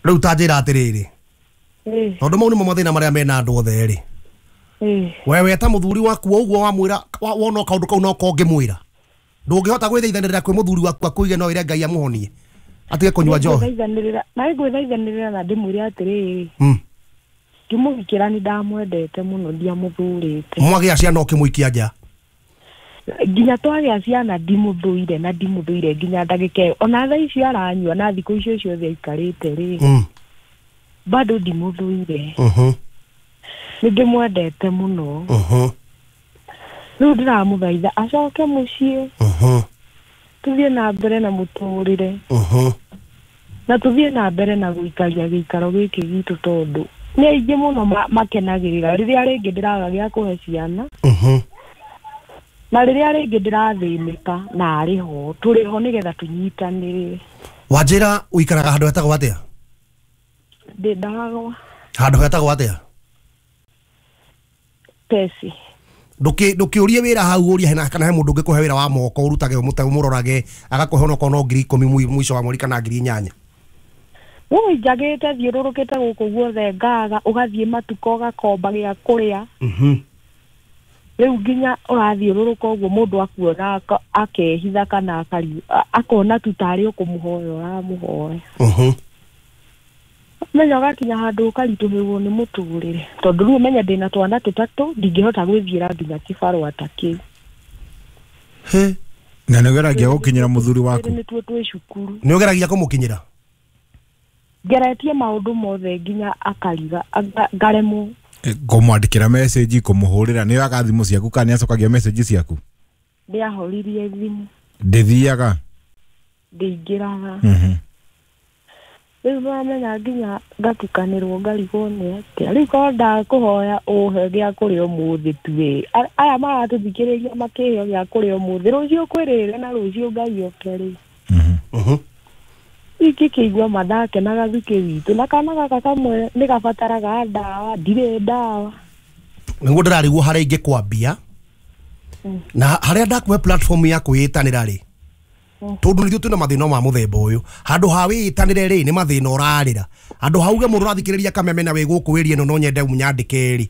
Rĩu ta njĩra atĩrĩrĩ, Ĩĩ. tondũ mau nĩmo mathĩna marĩa mena andũ othe rĩ, Ĩĩ. we weta mũthuri waku o ũguo wamwĩra, wona kaũndũ kau no kongĩmwĩra, ndũngĩhota gwĩthaithanĩrĩra kwĩ mũthuri waku akũige no ĩre Ngai amũhonie atige kũnyua njohi? Ngwĩthaithanĩrĩra na ngwĩthaithanĩrĩra na ndĩmwĩre atĩrĩrĩ, ngĩmũhikĩra nĩ ndamwendete mũno, ndiamũthũrĩte. Mwagĩa ciana ũkĩmũikia nja? Nginya twagĩa ciana ndimũthũire, na ndimũthũire nginya ndagĩka ĩyo. Ona thaa ici aranyua na thikũ icio ciothe aikarĩte rĩ, bado ndimũthũire. Nĩ ndĩmwendete mũno. Rĩu ndĩramũthaitha acoke mũciĩ, tũthiĩ na mbere na mũtũrĩre, na tũthiĩ na mbere na gũikaria gĩikaro gĩkĩ gitũ, tondũ nĩ aingĩ mũno makenagĩrĩra rĩrĩa rĩngĩ ndĩraga gĩa kũhe ciana, na rĩrĩa rĩngĩ ndĩrathĩnĩka, na arĩ ho, tũrĩ ho nĩgetha tũnyitanĩrĩre. Wanjĩra ũikaraga handũ hetagwo atĩa? Ndĩ ndagwa. Handũ hetagwo atĩa? Pesi. Ndũkĩũrie wĩra hau, ũrie hena kana he mũndũ ũngĩkũhe wĩra wa moko ũrutage, ũmũrorage, agakũhe onokorwo no 10,000 mũico wa mweri kana 8,000. Ũi njagĩte thiũrũrũkĩte gũkũ guothe, ngaga, ũgathiĩ matuka ũgakomba gĩa kũrĩa. Rĩu nginya ũrathiũrũrũka ũguo, mũndũ akuona akehitha kana akona tu tarĩ ũkũmũhoya ũramũhoya. Menya ũgakinya handũ ũkaritũhĩrwo nĩ mũtũrĩre, tondũ rĩu ũmenye ndĩna twana tũtatũ, ndingĩhota gwĩthiĩra nginya kĩbarũa ta kĩu. He. Na nĩ ũgeragia gũkinyĩra mũthuri waku? Nĩtuo twĩ cukuru. Nĩ ũgeragia kũmũkinyĩra? Ngeretie maũndũ mothe nginya akariga, ngaremwo. Kũmwandĩkĩra message, kũmũhũrĩra, nĩ oyaga thimũ ciaku kana nĩ acokagia message ciaku? Ndĩahoririe thimũ. Ndĩthiaga? Ndĩingĩraga. Rĩu nĩwamenya nginya ngatukanĩrwo, ngarigwo nĩ atĩa rĩu, korwo ndakũhoya ũhe gĩa kũrĩa ũmũthĩ tu ĩ. Aya maratũthikĩrĩria makĩheo gĩa kũrĩa ũmũthĩ, rũciũ kwĩrĩre na rũciũ Ngai oke rĩ. Ingĩkĩigua ma ndakenaga thukĩ witũ, na kana gaka kamwe nĩ gabataraga ndawa, ndirĩ ndawa. Nĩguo ndĩrarigwo harĩa ingĩkwambia na harĩa ndakũhe platform ya kwĩĩtanĩra rĩ, tondũ nithuĩ twĩna mathĩna ma mũthemba ũyũ. Handũ ha wĩĩtanĩre rĩ, nĩ mathĩna ũrarĩra. Handũ ha uge mũndũ ũrathikĩrĩria Kameme na wĩ gũkũ ĩria ĩno no nyende mũnyandĩke rĩ,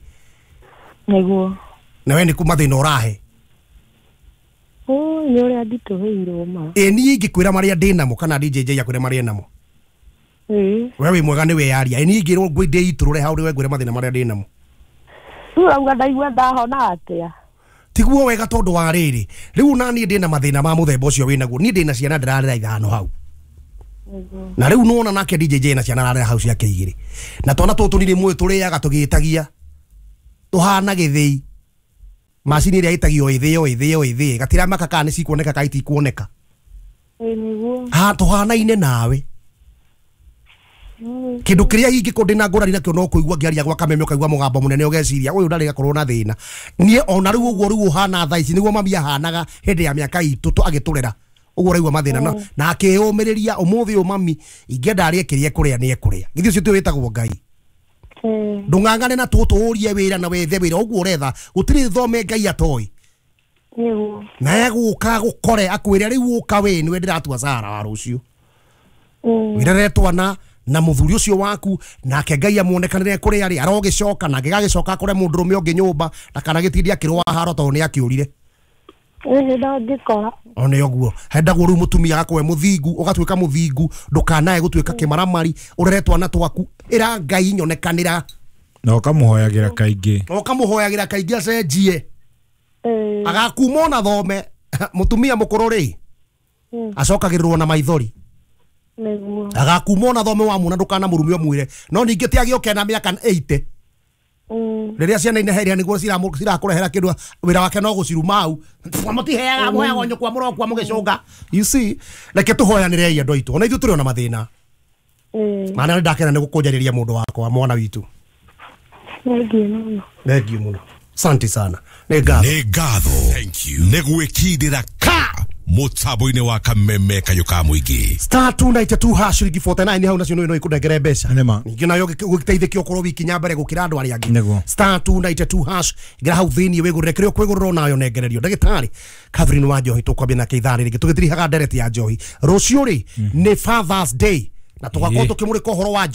Nĩguo. Na we nĩ kũ mathĩna ũrahe? Ũĩ, nĩ ũrĩa nditũhĩirwo ma. Ĩ niĩ ingĩkwĩra marĩa ndĩnamo kana DJJ akwĩre marĩa enamo? Ĩĩ. We wĩ mwega nĩ weyaria. Ĩ niĩ ingĩrwo ndĩitũrũre hau rĩ, we ngwĩre mathĩna marĩa ndĩnamo? Rĩu ũrauga ndaigua ndahona atĩa? Tiguo wega, tondũ wa rĩrĩ, rĩu na niĩ ndĩna mathĩna ma mũthemba ũcio wĩnaguo. Niĩ ndĩna ciana ndĩrarera ithano hau, na rĩu nĩwona nake DJJ na ciana ararera hau ciake igĩrĩ, na twana tũtũ nĩ rĩmwe tũrĩaga tũgĩtagia, tũhana gĩthĩi macini ĩrĩa ĩtagio ĩthĩo ĩthĩo ĩthĩĩ, gatiramaka kana nĩ cikuoneka kana itikuoneka. Ĩĩ nĩguo. Ha tũhanaine nawe. Kĩndũ kĩrĩa ingĩkorwo ndĩna ngũrani nakĩo no kũigua ngĩaria gwa Kameme, ũkaigua mũgambo mũnene, ũgeciria ũyũ ndarĩ gakorwo na thĩna. Niĩ ona rĩu ũguo rĩu ũhana thaa ici nĩguo mami ahanaga hĩndĩ ya mĩaka itũ agĩtũrera ũguo ũraigua mathĩna na akĩyũmĩrĩria. Ũmũthĩ ũyũ mami ingĩenda arĩe kĩrĩa ekũrĩa nĩ ekũrĩa. Githĩ ũcio tiwe wĩtagwo Ngai? Ĩĩ. Ndũng'ang'ane na tũtũ, ũrie wĩra na wethe wĩra ũguo ũretha. Gũtirĩ thome Ngai atoĩ. Nĩguo. Na egũka gũkore akwĩre rĩu ũka wĩ nĩwe ndĩratua Sara wa rũciũ. Wĩrere twana na mũthuri ũcio waku, nake Ngai amuonekanĩre kũrĩa arĩ arogĩcoka, na angĩgagĩcoka akore mũndũrũme ũngĩ nyũmba na kana gĩtindi akĩrũa haro tondũ nĩ akĩũrire. Ĩĩ ndangĩkora. One ũguo hendagwo rĩu mũtumia agakorwo e mũthingu, ũgatuĩka mũthingu, ndũkanae gũtuĩka kĩmaramari, ũrere twana twaku, ĩra Ngai nyonekanĩra. Na ũkamũhoyagĩra kaingĩ. Na ũkamũhoyagĩra kaingĩ acenjie. Ĩĩ. Agakuma ona thome mũtumia mũkũrũ rĩ, acokagĩrĩrwo na maithori. Nĩguo. Agakuma ona thome wamuona ndũkanamũrume, ũmwĩre no ningĩ ti agĩũke na mĩaka 80, rĩrĩa ciana ineheria nĩguo cirakũrehera kĩndũ, wĩra wake no gũciruma hau, mũtiheaga, mũheagwo nyũkwa, mũrokua mũgĩcũnga. You see, reke tũhoyanĩrei andũ aitũ, ona ithuĩ tũrĩ ona mathĩna. Maana nĩ ndakena nĩ gũkũnjarĩria mũndũ wakwa, mwana witũ. Thengiũ mũno. Thengiũ mũno, asante sana, nĩ ngatho. Nĩ ngatho nĩ gwĩkindĩra ka mũtambo-inĩ wa Kameme kayũ ka mũingĩ. *292# ciringi 49 hau nacio no ikũnengere mbeca. Nĩma. Ningĩ nayo ũgĩteithĩke ũkorwo wikinya mbere gũkĩra andũ arĩa angĩ. Nĩguo. *292# ingĩra hau thĩiniĩ wĩgũrĩre kĩrĩa ũkwĩgũrĩra, onayo nengererio. Ndagĩtarĩ Catherine wa Njohi tũkwambia nake ithaa rĩrĩ tũgĩtirihaga ndereti ya njohi. Rũciũ rĩ nĩ Fathers Day na tũgakorwo Ĩĩ. tũkĩmũrĩka ũhoro wa njohi.